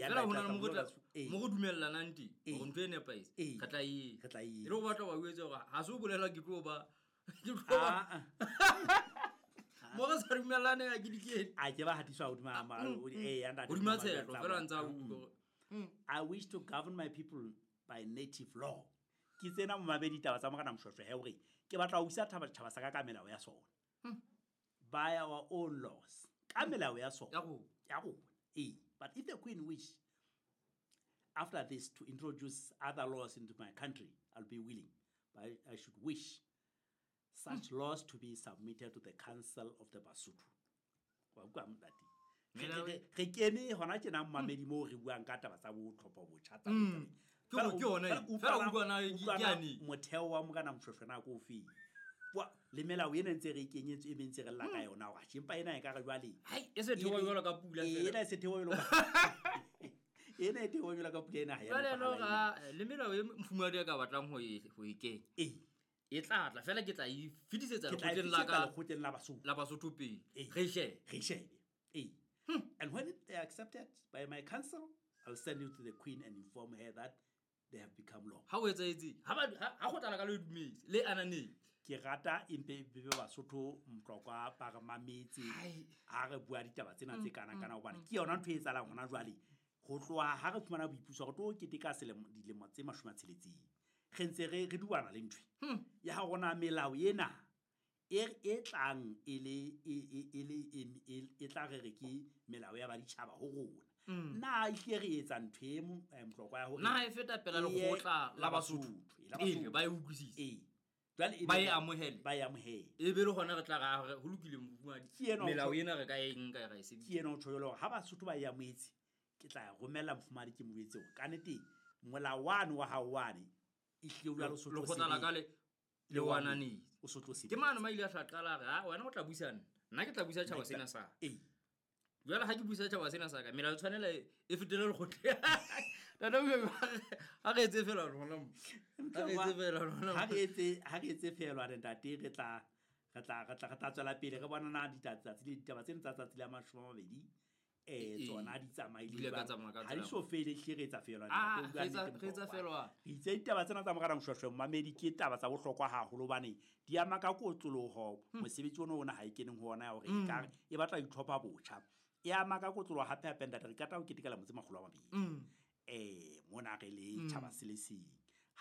Fela ho na le mo re mo re dumellanang teng hore ntho e nepahetse, re tla e Re tla e e le go batla wa o etse gore ga se o bolela ke tlo ba ke tlo ba Ah, ah. mo re sa dumellane a ke dikete a ke ba hatiswa hodima ee, ntate, hodima tla tshetlo fela ntse a bona. utlwa hore I wish to govern my people by native law. Ke tsena momamedi taba tsa Morena Moshoeshoe he hore ke batla ho busa tjhaba sa ka ka melao ya sona. By our own laws. Ka melao ya sona. Ya rona. Ya rona. Ee. But if the queen wish after this to introduce other laws into my country, I'll be willing. But I should wish such laws to be submitted to the council of the Basotho. Wa utlwa ntate? Re- Melao- re kene hona tjena momamedi moo re buang ka taba tsa bo tlhopho botjha tsa Ke Fela hore ke yona fela e. Fela utlwana ke utlwana yane. motheo wa Morena Moshoeshoe na ko ofeng. Le melao ena ntse re e kenyetswe e mentse re lla ka yona hore atjhe, empa ena e ka re jwale. Hai, e se theoha jwalo ka pula Ee, fela. ena e se theoha jwalo ka Ena e theoha jwalo ka pula ena ha ya Jwale nepahala no ena. ga le melao e mofumahadi a ka batlang ho e ho e kenya. Ee. E tla tla fela ke tla e fetisetsa Ke tla e lekgotleng la fetisetsa ka lekgotleng la Basotho. la Basotho pele. Ee. Re e shebe. Re e shebe. Ee. And when they are accepted by my council, I'll send you to the queen and inform her that they have become law. Ha o etsahetse, ha ba ha kgotla la ka le dumetse, le ananetse. Ke rata empe be Basotho Mtlokwa ba re mametse Hai. ha re bua ditaba tsena tse kana kana hobane ke yona ntho e etsahalang hona jwale. Ho tloha ha re fumana boipuso re tlo keteka selemo dilemo tse 60. Re ntse re dubana le ntho e. Ya rona melao ena e tlang e le e e e le e e tla re re ke melao ya baditjhaba ho rona. Na ehlile re etsa ntho e Mtlokwa ya hore Na e feta pela e ye lekgotla la Basotho. Basotho, la Pele Basotho. ba e utlwisise. Ee. Jwale e Ba be e amohele. Ba e amohele. E be le hona re tla ra re ho lokile mofumahadi. Ke ena o Melao tjho- ena re ka e nka ra e sebedisa. Ke ena o tjho jwalo hore ha Basotho ba e amohetse, ke tla e romella mofumahadi ke mo jwetse hore kannete molao wane wa hao wane ehlile o jwalo o so tlo Lekgotla la ka sebetsa. le o ananetse. O so tlo sebetsa. Ke mane ma ile a tla qala a re, "Ha, wena o tla buisa nna. Nna ke tla buisa tjhaba sena sa ka." Ee. Jwale ha ke buisa tjhaba sena sa ka, melao e tshwanela e fetele lekgotleng. Tata o ha re etse feela rona mo. Ha re etse feela rona mo. Ha re etse feela ntate, re tla re tla re tla re tla tswela pele re bona na tsatsi le ditaba tsena tsa tsatsi la 20 tsona di tsamaile Di ile ka jwang. tsamaya ka Ha di tsela. so fele, ehlile re etsa feela, Ah, ntate, o bua re etsa- nnete, re etsa Mokgwa. feela. Re itse ditaba tsena tsa Morena Moshoeshoe momamedi ke taba tsa bohlokwa haholo hobane di ama ka kotloloho mosebetsi ona ona ha e keneng ho ona ya hore ekare e batla ho itlhopha botjha. E ama ka kotloloho hape hape ntate, re qeta ho keteka lemo tse 200. Mona re le tjhaba se le seng.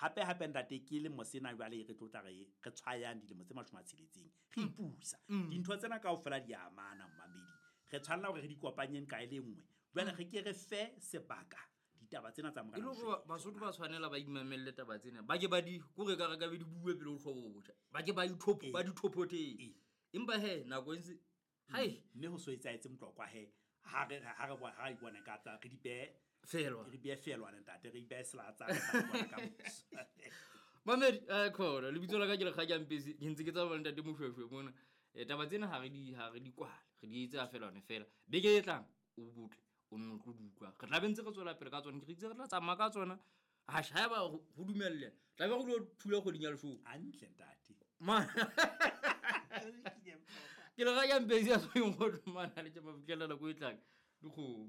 Hape hape ntate, ke lemo sena jwale re tlo tla re tshwayang dilemo tse 60 re ipusa. Dintho tsena kaofela di amana momamedi. Re tshwanela hore re di kopanyeng ka e le nngwe. Jwale re ke re fe sebaka ditaba tsena tsa E Morena le hore Moshoeshoe. Basotho ba tshwanela ba imamelle taba tsena. Ba ke ba di kore ka re ka be di bue pele ho tlhobo botjha. Ba ke ba ithopho, ba di thophotheng. Ee. Empa he nako e ntse hai Mme ho so etsahetse Mtlokwa he ha re ha re bona ha re bona ka tsa re di behe Feelwa. Re di behe feelwa ntate, re di behe selatsa re tla bona ka moso. Mamedi, khona lebitso la ka ke Lekgakang Mpesi, ke ntse ke tsamaya le ntate Moshoeshoe mona. Taba tsena ha re di ha re di kwale, re di etsa feela hone fela. Beke e tlang o botle, o nno tlo di utlwa. Re tla be ntse re tswela pele ka tsona, ke re itse re tla tsamaya ka tsona. Atjhe, haeba ho dumelle, tla be re lo thula kgweding ya leshome. Hantle ntate. Ma Ke Lekgakang Mpesi ya tshwereng kgotso mane, ha le tjhe mafitlhela nako e tlang. Dikgomo.